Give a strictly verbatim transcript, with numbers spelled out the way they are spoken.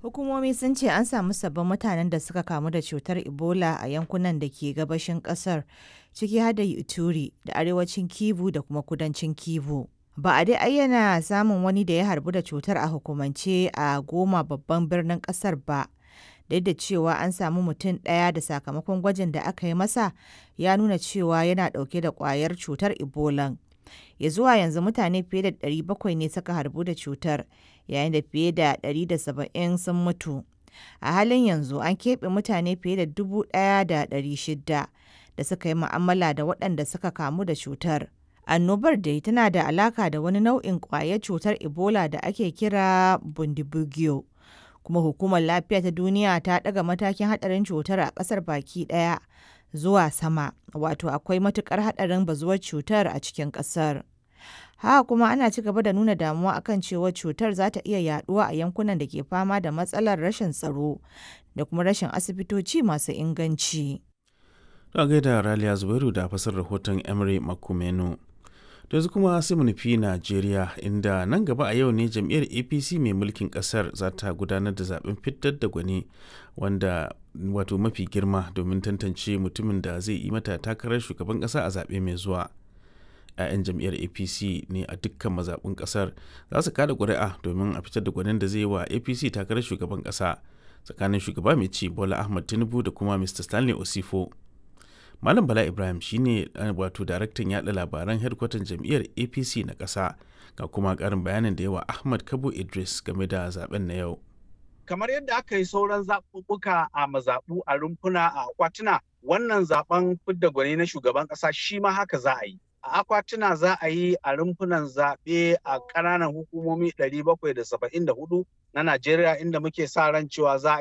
Hukumomi sun ce an samu sabbin mutanen da suka kamu da cutar Ebola a yankunan da ke gabashin kasar, ciki har da Ituri da arewacin Kivu da kuma kudancin Kivu. Ba a dai ayyana samun wani da ya harbu da cutar a hukumance a Goma babban birnin kasar ba. Duk da cewa an samu mutum ɗaya da sakamakon gwajin da aka yi masa ya nuna cewa yana ɗauke da ƙwayar cutar Ebola. Ya zuwa yanzu mutane fiye da ɗari bakwai ne suka harbu da cutar, yayin da fiye da ɗari da saba'in sun mutu. A halin yanzu an keɓe mutane fiye da dubu ɗaya da ɗari shida da suka yi mu'amala da waɗanda suka kamu da cutar. Annobar dai tana da alaka da wani nau'in ƙwayar cutar Ebola da ake kira Bundibugyo. Kuma hukumar lafiya ta duniya ta ɗaga matakin haɗarin cutar a ƙasar baki ɗaya zuwa sama, wato akwai matuƙar haɗarin bazuwar cutar a cikin ƙasar. Haka kuma ana ci gaba da nuna damuwa akan cewa cutar za ta iya yaduwa a yankunan da ke fama da matsalar rashin tsaro da kuma rashin asibitoci masu inganci. A gaida Raliya Zubairu da fasar rahoton Emery Makumenu. Da yanzu kuma sai mu nufi Najeriya, inda nan gaba a yau ne jam'iyyar A P C mai mulkin kasar za ta gudanar da zaben fitar da gwani wanda wato mafi girma domin tantance mutumin da zai yi mata takarar shugaban kasa a zaɓe mai zuwa. 'Ya'yan jam'iyyar A P C ne a dukkan mazaɓun ƙasar za su kada ƙuri'a domin a fitar da gwanin da zai yi wa A P C takarar shugaban ƙasa tsakanin shugaba mai ci Bola Ahmad Tinubu da kuma Mister Stanley Osifo. Malam Bala Ibrahim shine wato daraktan yada labaran hedkwatan jam'iyyar A P C na ƙasa, ga kuma ƙarin bayanin da yawa Ahmad Kabo Idris game da zaben na yau. Kamar yadda aka yi sauran zaɓuɓɓuka a mazaɓu, a rumfuna, a akwatuna, wannan zaɓen fidda gwani na shugaban ƙasa shi ma haka za a yi. A akwatuna za a yi, a rumfunan zaɓe a ƙananan hukumomi ɗari bakwai da saba'in da hudu na Najeriya, inda muke sa ran cewa za a yi